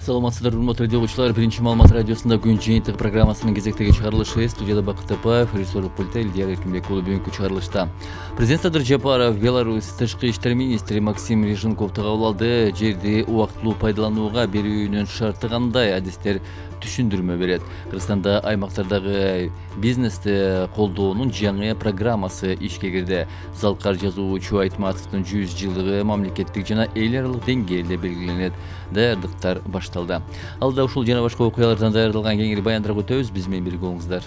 Саламатсыздар, урматтуу радио угуучулар. Биринчи маалымат радиосунда күн жыйынтык программасынын кезектеги чыгарылышы. Студияда Бакыт Тапаев, режиссерлук пультта Элдияр Эркинбек уулу. Бүгүнкү чыгарылышта президент Садыр Жапаров Беларусь тышкы иштер министри Максим Рыженковду кабыл алды. Жерди убактылуу пайдаланууга берүүнүн шарты кандай? Адистер түшүндүрмө берет. Кыргызстанда аймактардагы бизнести колдоонун жаңы программасы ишке кирди. Залкар жазуучу Айтматовдун 100 жылдыгы мамлекеттик жана эл аралык деңгээлде белгиленет. Даярдыктар башталды. Алда ушул жана башка окуялардан даярдалган кеңири баяндарга өтөбүз. Биз менен бирге болуңуздар.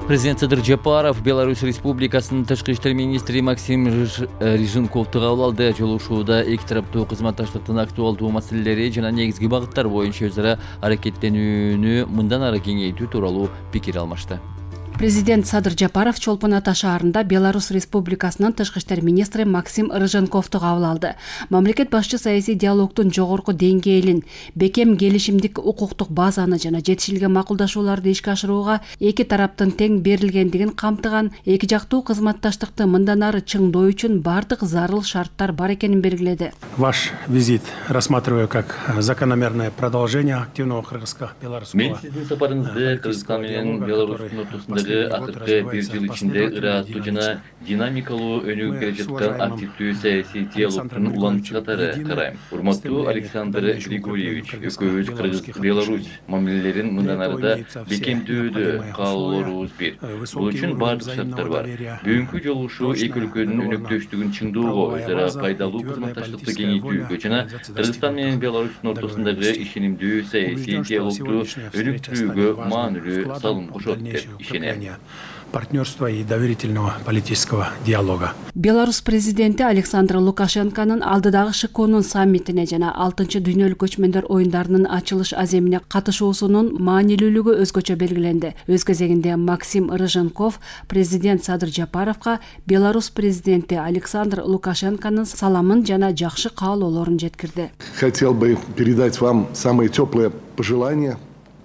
Президент Садыр Жапаров Беларусь Республикасынын тышкы иштер министри Максим Рыженковду кабыл алды. Жолугушууда эки тараптуу кызматташтыктын актуалдуу маселелери жана негизги багыттар боюнча өз ара аракеттенүүнү мындан ары кеңейтүү тууралуу пикир алмашты. Президент Садыр Жапаров Чолпон Ата шаарында Беларусь Республикасынын тышкы иштер министри Максим Рыженковду кабыл алды. Мамлекет башчы саясий диалогдун жогорку деңгээлин, бекем келишимдик укуктук базаны жана жетишилген макулдашууларды ишке ашырууга эки тараптын тең берилгендигин камтыган, эки жактуу кызматташтыкты мындан ары чыңдоо үчүн бардык зарыл шарттар бар экенин белгиледи. Ваш визит рассматриваю как закономерное продолжение активного кыргызско-белорусского. Мен сиздин сапарыңызды Кыргызстан менен Беларустун ортосунда акыркы бир жыл ичинде ырааттуу жана динамикалуу өнүгүп келе жаткан активдүү саясий диалогдун уланчы катары карайм. Урматтуу Александр Григорьевич, экөөбүз Кыргыз-Беларусь мамилелерин мындан арыда бекемдөөдө каалоорубуз бир. Бул үчүн бардык шарттар бар. Бүгүнкү жолугушуу эки өлкөнүн өнөктөштүгүн чыңдоого, өз ара пайдалуу кызматташтыкты кеңейтүүгө жана Кыргызстан менен Беларустун ортосундагы ишенимдүү саясий диалогду өнүктүрүүгө маанилүү салым кошот деп ишенем. Партнерства и доверительного политического диалога. Беларусь президенти Александр Лукашенконун алдыдагы ШКОнун саммитине жана 6-чы дүйнөлүк көчмөндөр оюндарынын ачылыш аземине катышуусунун маанилүүлүгү өзгөчө белгиленди. Өз кезегинде Максим Рыженков президент Садыр Жапаровго Беларусь президенти Александр Лукашенконун саламын жана жакшы каалоолорун жеткирди. Хотел бы передать вам самые теплые пожелания.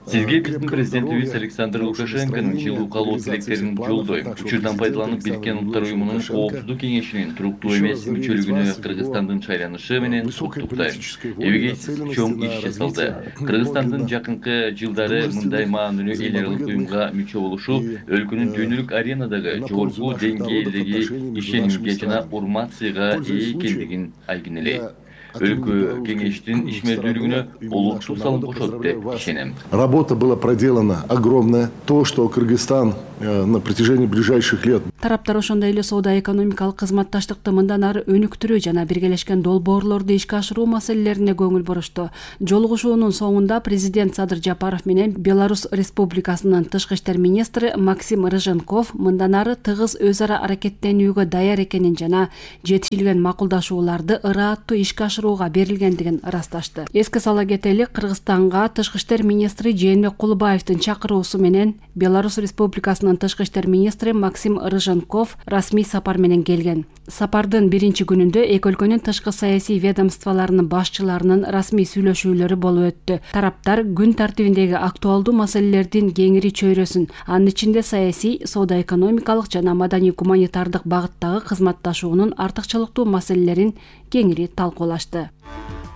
Сизге биздин президентибиз Александр Лукашенконун жылуу каалоо тилектерин жолдойм. Учурдан пайдаланып Бириккен Улуттар Уюмунун Коопсуздук кеңешинин туруктуу эмес мүчөлүгүнө Кыргызстандын шайланышы менен куттуктайм. Эбегейсиз чоң иш жасалды. Кыргызстандын жакынкы жылдары мындай маанилүү эл аралык уюмга мүчө болушу өлкөнүн дүйнөлүк аренадагы жогорку деңгээлдеги ишенимге жана урмат сыйга ээ экендигин айгинелейт. Өлкө кеңештин ишмердүүлүгүнө олуттуу салым кошот деп ишенем. Работа была проделана огромная. То, что Кыргызстан на протяжении ближайших лет. Тараптар ошондой эле соода-экономикалык кызматташтыкты мындан ары өнүктүрүү жана биргелешкен долбоорлорду ишке ашыруу маселелерине көңүл бурушту. Жолугушуунун соңунда президент Садыр Жапаров менен Беларусь Республикасынын тышкы иштер министри Максим Рыженков мындан ары тыгыз өз ара аракеттенүүгө даяр экенин жана жетишилген макулдашууларды ырааттуу ишке ашырууга берилгендигин ырасташты. Эске сала кетели, Кыргызстанга тышкы иштер министри Жээнбек Кулубаевдин чакыруусу менен Беларусь Республикасынын тышкы иштер министри Максим Рыженков расмий сапар менен келген. Сапардын биринчи күнүндө эки өлкөнүн тышкы саясий ведомстволорунун башчыларынын расмий сүйлөшүүлөрү болуп өттү. Тараптар күн тартибиндеги актуалдуу маселелердин кеңири чөйрөсүн, анын ичинде саясий, соода-экономикалык жана маданий-гуманитардык багыттагы кызматташуунун артыкчылыктуу маселелерин кеңири талкуулашты.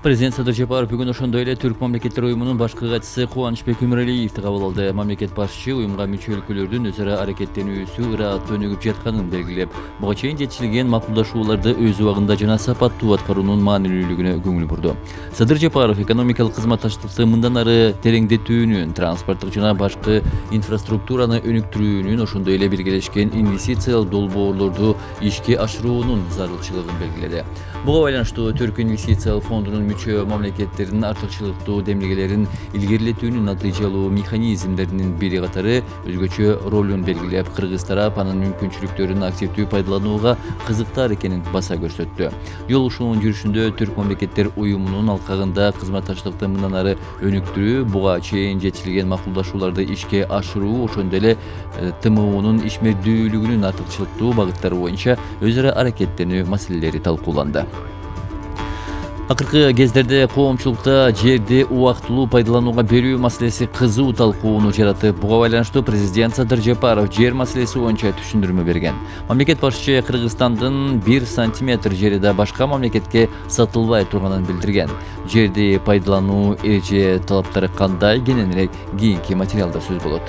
Президент Садыр Жапаров бүгүн ошондой эле Түрк мамлекеттер уюмунун башкы катчысы Кубанычбек Өмүралиевди кабыл алды. Мамлекет башчы уюмга мүчө өлкөлөрдүн өз ара аракеттенүүсү ырааттуу өнүгүп жатканын белгилеп, буга чейин жетишилген макулдашууларды өз убагында жана сапаттуу аткаруунун маанилүүлүгүнө көңүл бурду. Садыр Жапаров экономикалык кызматташтыкты мындан ары тереңдетүүнүн, транспорттук жана башкы инфраструктураны өнүктүрүүнүн, ошондой эле биргелешкен инвестициялык долбоорлорду ишке ашыруунун зарылчылыгын белгиледи. Буга байланыштуу Түрк инвестициялык фондунун мүчө мамлекеттердин артыкчылыктуу демилгелерин илгерилетүүнүн натыйжалуу механизмдеринин бири катары өзгөчө ролун белгилеп, кыргыз тарап анын мүмкүнчүлүктөрүн активдүү пайдаланууга кызыктар экенин баса көрсөттү. Жолугушуунун жүрүшүндө Түрк мамлекеттер уюмунун алкагында кызматташтыкты мындан ары өнүктүрүү, буга чейин жетишилген макулдашууларды ишке ашыруу, ошондой эле ТМОнун ишмердүүлүгүнүн артыкчылыктуу багыттары боюнча өз ара аракеттенүү маселелери талкууланды. Акыркы кездерде коомчулукта жерди убактылуу пайдаланууга берүү маселеси кызуу талкууну жаратып, буга байланыштуу президент Садыр Жапаров жер маселеси боюнча түшүндүрмө берген. Мамлекет башчы Кыргызстандын 1 сантиметр жери да башка мамлекетке сатылбай турганын билдирген. Жерди пайдалануу эреже талаптары кандай, кененирээк кийинки материалда сөз болот.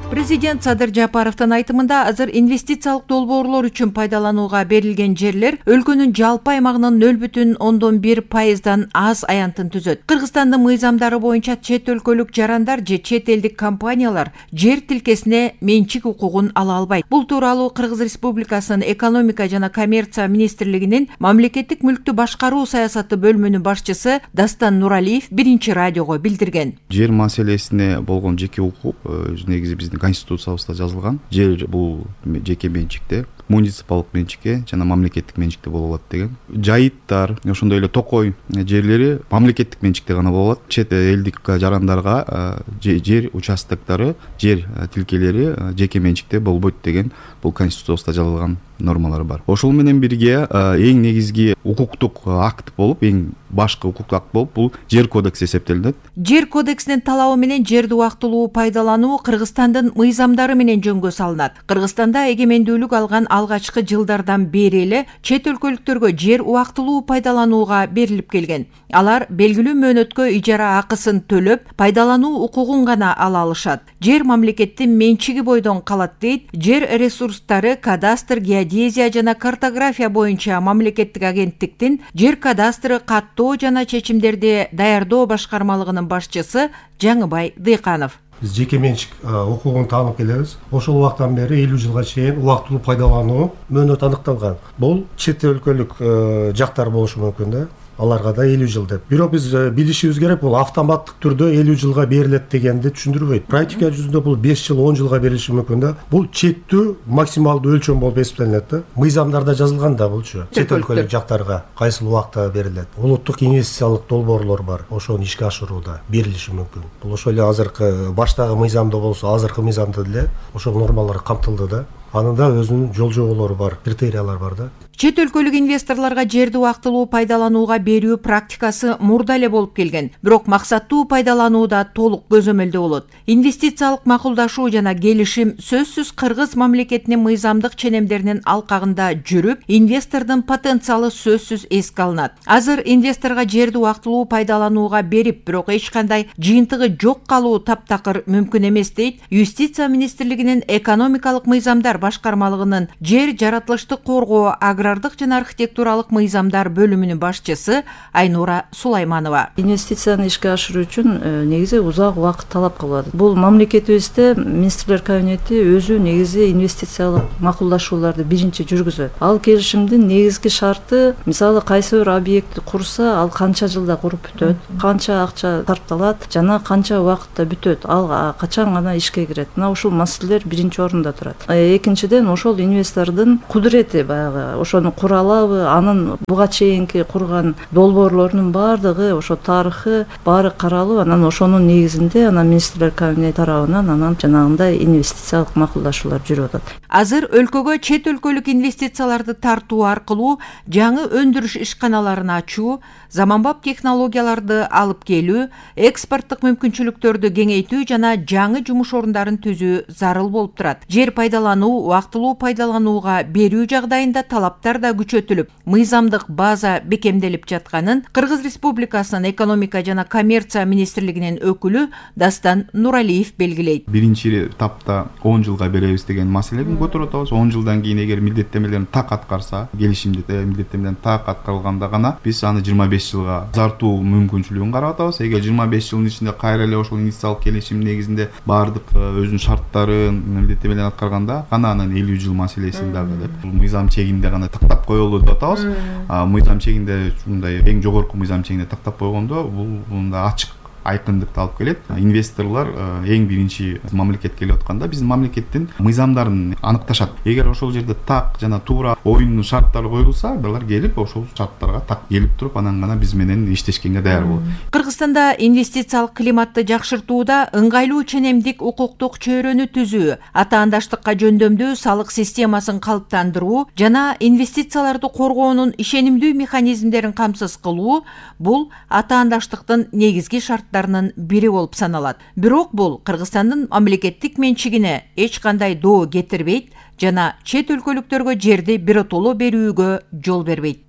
Президент Садыр Жапаровдун айтымында азыр инвестициялык долбоорлор үчүн пайдаланууга берилген жерлер өлкөнүн жалпы аймагынын 0,1%дан аз аянтын түзөт. Кыргызстандын мыйзамдары боюнча чет өлкөлүк жарандар же чет элдик компаниялар жер тилкесине менчик укугун ала албайт. Бул тууралуу Кыргыз Республикасынын экономика жана коммерция министрлигинин мамлекеттик мүлктү башкаруу саясаты бөлүмүнүн башчысы Дастан Нуралиев биринчи радиого билдирген. Жер маселесине болгон жеке укук негизи биздин конституциябызда жазылган. Жер бул жеке менчикте, муниципалдык менчикте жана мамлекеттик менчикте боло алат деген. Жайыттар, ошондой эле токой жерлери мамлекеттик менчикте гана боло алат. Чет элдик жарандарга жер участоктору, жер тилкелери жеке менчикте болбойт деген бул конституциябызда жазылган нормалар бар. Ошол менен бирге эң негизги укуктук акт болуп, эң башкы укуктук акт болуп, бул жер кодекси эсептелинет. Жер кодексинин талабы менен жерди убактылуу пайдалануу Кыргызстандын мыйзамдары менен жөнгө салынат. Кыргызстанда эгемендүүлүк алган алгачкы жылдардан бери эле чет өлкөлүктөргө жер убактылуу пайдаланууга берилип келген. Алар белгилүү мөөнөткө ижара акысын төлөп, пайдалануу укугун гана ала алышат. Жер мамлекеттин менчиги бойдон калат дейт Жер ресурстары, кадастр, геодезия жана картография боюнча мамлекеттик агенттиктин жер кадастры каттоо жана чечимдерди даярдоо башкармалыгынын башчысы Жаңыбай Дыйканов. Биз жеке менчик укугун таанып келебиз. Ошол убактан бери 50 жылга чейин убактылуу пайдалануу мөөнөт аныкталган. Бул чет өлкөлүк жактар болушу мүмкүн да. Аларга да 50 жыл деп. Бирок биз билишибиз керек, бул автоматтык түрдө 50 жылга берилет дегенди түшүндүрбөйт. Практика жүзүндө бул 5 жыл, 10 жылга берилиши мүмкүн да. Бул чектүү максималдуу өлчөм болуп эсептелинет да. Мыйзамдарда жазылган да булчу. Чет өлкөлүк жактарга кайсыл убакта берилет. Улуттук инвестициялык долбоорлор бар. Ошону ишке ашырууда берилиши мүмкүн. Бул ошол эле азыркы баштагы мыйзамда болсо, азыркы мыйзамда деле ошол нормалар камтылды да. Анын да өзүнүн жол жоболору бар, критериялар бар да. Чет өлкөлүк инвесторлорго жерди убактылуу пайдаланууга берүү практикасы мурда эле болуп келген. Бирок максаттуу пайдаланууда толук көзөмөлдө болот. Инвестициялык макулдашуу жана келишим сөзсүз Кыргыз мамлекетинин мыйзамдык ченемдеринин алкагында жүрүп, инвестордун потенциалы сөзсүз эске алынат. Азыр инвесторго жерди убактылуу пайдаланууга берип, бирок эч кандай жыйынтыгы жок калуу таптакыр мүмкүн эмес дейт Юстиция министрлигинин экономикалык мыйзамдар башкармалыгынын жер жаратылыштык коргоо, агрардык жана архитектуралык мыйзамдар бөлүмүнүн башчысы Айнура Сулайманова. Инвестицияны ишке ашыруу үчүн негизи узак убакыт талап кылат. Бул мамлекетибизде министрлер кабинети өзү негизи инвестициялык макулдашууларды биринчи жүргүзөт. Ал келишимдин негизги шарты, мисалы кайсы бир объектти курса, ал канча жылда куруп бүтөт, канча акча сарпталат жана канча убакытта бүтөт, ал качан гана ишке кирет. Мына ушул маселелер биринчи орунда турат. Экинчиден ошол инвестордун кудурети, баягы ошону кура алабы, анын буга чейинки курган долбоорлорунун баардыгы, ошо тарыхы баары каралып, анан ошонун негизинде министрлер кабинети тарабынан анан жанагындай инвестициялык макулдашуулар жүрүп атат. Азыр өлкөгө чет өлкөлүк инвестицияларды тартуу аркылуу жаңы өндүрүш ишканаларын ачуу, заманбап технологияларды алып келүү, экспорттук мүмкүнчүлүктөрдү кеңейтүү жана жаңы жумуш орундарын түзүү зарыл болуп турат. Жер пайдалануу, убактылуу пайдаланууга берүү жагдайында талаптар да күчөтүлүп, мыйзамдык база бекемделип жатканын Кыргыз Республикасынын экономика жана коммерция министрлигинин өкүлү Дастан Нуралиев белгилейт. Биринчи этапта 10 жылга беребиз деген маселени көтөрүп атабыз. 10 жылдан кийин эгер милдеттемелерин так аткарса, келишимде милдеттемелерин так аткарылганда гана биз аны 25 жылга узартуу мүмкүнчүлүгүн карап атабыз. Эгер 25 жылдын ичинде кайра эле ошол инвестициялык келишим негизинде баардык өзүнүн шарттарын, милдеттемелерин аткарганда гана анан 50 жыл маселесин дагы деп бул мыйзам чегинде гана тактап коелу деп атабыз. Мыйзам чегинде ушундай эң жогорку мыйзам чегинде тактап койгондо бул мында айкындыкты алып келет. Инвесторлор эң биринчи мамлекетке келип атканда биздин мамлекеттин мыйзамдарын аныкташат. Эгер ошол жерде так жана туура оюндун шарттары коюлса, булар келип ошол шарттарга так келип туруп, анан гана биз менен иштешкенге даяр болот. Кыргызстанда инвестициялык климатты жакшыртууда ыңгайлуу ченемдик укуктук чөйрөнү түзүү, атаандаштыкка жөндөмдүү салык системасын калыптандыруу жана инвестицияларды коргоонун ишенимдүү механизмдерин камсыз кылуу бул атаандаштыктын негизги шарттарынын бири болуп саналат. Бирок бул Кыргызстандын мамлекеттик менчигине эч кандай доо кетирбейт жана чет өлкөлүктөргө жерди биротоло берүүгө жол бербейт.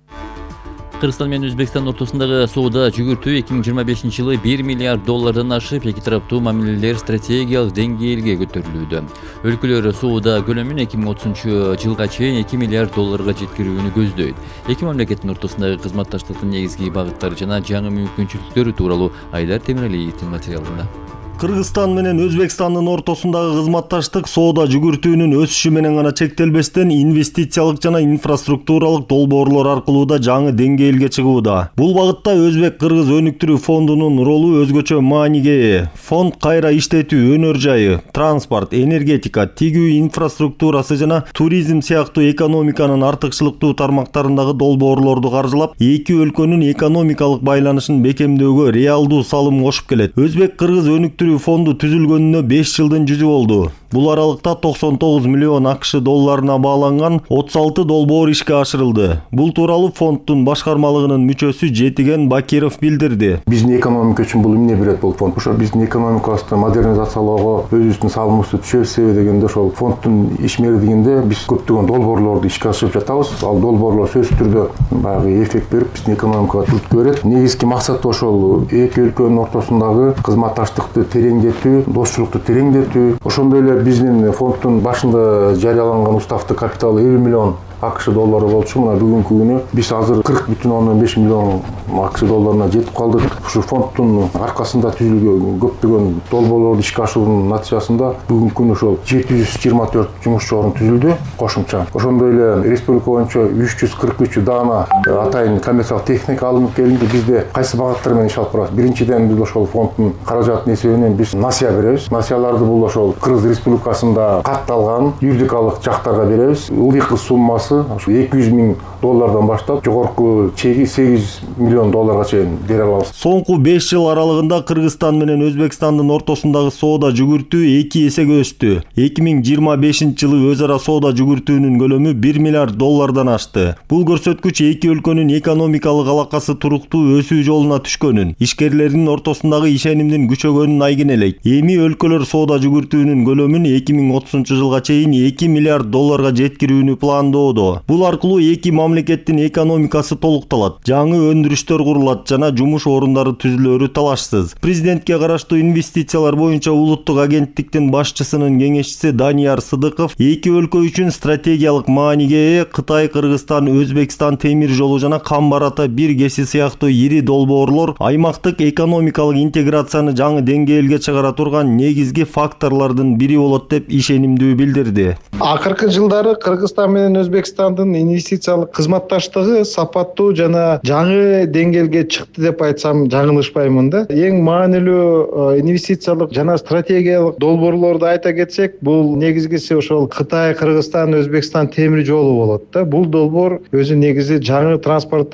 Кыргызстан менен Өзбекстан ортосундагы соода жүгүртүү 2025-жылы 1 миллиард доллардан ашып, эки тараптуу мамилелер стратегиялык деңгээлге көтөрүлүүдө. Өлкөлөр соода көлөмүн 2030-жылга чейин 2 миллиард долларга жеткирүүнү көздөйт. Эки мамлекеттин ортосундагы кызматташтыктын негизги багыттары жана жаңы мүмкүнчүлүктөрү тууралуу Айдар Темиралиевдин материалында. Кыргызстан менен Өзбекстандын ортосундагы кызматташтык соода жүгүртүүнүн өсүшү менен гана чектелбестен, инвестициялык жана инфраструктуралык долбоорлор аркылуу да жаңы деңгээлге чыгууда. Бул багытта Өзбек-Кыргыз өнүктүрүү фондунун ролу өзгөчө мааниге ээ. Фонд кайра иштетүү, өнөр жайы, транспорт, энергетика, тигүү инфраструктурасы жана туризм сыяктуу экономиканын артыкчылыктуу тармактарындагы долбоорлорду каржылап, эки өлкөнүн экономикалык байланышын бекемдөөгө реалдуу салым кошуп келет. Өзбек-Кыргыз өнүктүрүү фонду түзүлгөнүнө 5 жылдын жүзү болду. Бул аралыкта 99 миллион АКШ долларына бааланган 36 долбоор ишке ашырылды. Бул тууралуу фонддун башкармалыгынын мүчөсү Жетиген Бакиров билдирди. Биздин экономика үчүн бул эмне берет бул фонд? Ошо биздин экономикабызды модернизациялоого өзүбүздүн салымыбызды түшөрсүбү дегенде ошол фонддун ишмердигинде биз көптөгөн долбоорлорду ишке ашырып жатабыз. Ал долбоорлор сөзсүз түрдө баягы эффект берип, биздин экономикага түрткү берет. Негизги максаты ошол эки өлкөнүн ортосундагы кызматташтыкты тереңдетүү, достчулукту тереңдетүү. Ошондой эле биздин фонддун башында жарыяланган уставты капиталы 50 миллион АКШ доллары болчу. Мына бүгүнкү күнү биз азыр 40,5 миллион АКШ долларына жетип калдык. Ушу фонддун аркасында түзүлгөн көптөгөн долбоорлорду ишке ашыруунун натыйжасында бүгүнкү күнү ошол 724 жумушчу орун түзүлдү кошумча. Ошондой эле республика боюнча 343 даана атайын коммерциялык техника алынып келинди. Бизде кайсы багыттар менен иш алып барабыз? Биринчиден биз ошол фонддун каражатынын эсебинен биз насыя беребиз. Насыяларды бул ошол Кыргыз Республикасында катталган юридикалык жактарга беребиз. Ылдыйкы суммасы 200 миң доллардан баштап жогорку чеги 8 миллион долларга чейин бере алабыз. Соңку 5 жыл аралыгында Кыргызстан менен Өзбекстандын ортосундагы соода жүгүртүү 2 эсеге өстү. 2025-жылы өз ара соода жүгүртүүнүн көлөмү 1 миллиард доллардан ашты. Бул көрсөткүч эки өлкөнүн экономикалык алакасы туруктуу өсүү жолуна түшкөнүн, ишкерлердин ортосундагы ишенимдин күчөгөнүн айгинелейт. Эми өлкөлөр соода жүгүртүүнүн көлөмүн 2030-жылга чейин 2 миллиард долларга жеткирүүнү пландоодо. Бул аркылуу эки мамлекеттин экономикасы толукталат, жаңы өндүрүштөр курулат жана жумуш орундары түзүлөрү талашсыз. Президентке караштуу инвестициялар боюнча улуттук агенттиктин башчысынын кеңешчиси Данияр Сыдыков эки өлкө үчүн стратегиялык мааниге ээ Кытай, Кыргызстан, Өзбекстан темир жолу жана Кам-Барата бир кеси сыяктуу ири долбоорлор аймактык экономикалык интеграцияны жаңы деңгээлге чыгара турган негизги факторлордун бири болот деп ишенимдүү билдирди. Акыркы жылдары Кыргызстан менен Өзбекстандын инвестициялык кызматташтыгы сапаттуу жана жаңы деңгээлге чыкты деп айтсам жаңылышпаймын да. Эң маанилүү инвестициялык жана стратегиялык долбоорлорду айта кетсек, бул негизгиси ошол Кытай, Кыргызстан, Өзбекстан темир жолу болот да. Бул долбоор өзү негизи жаңы транспорт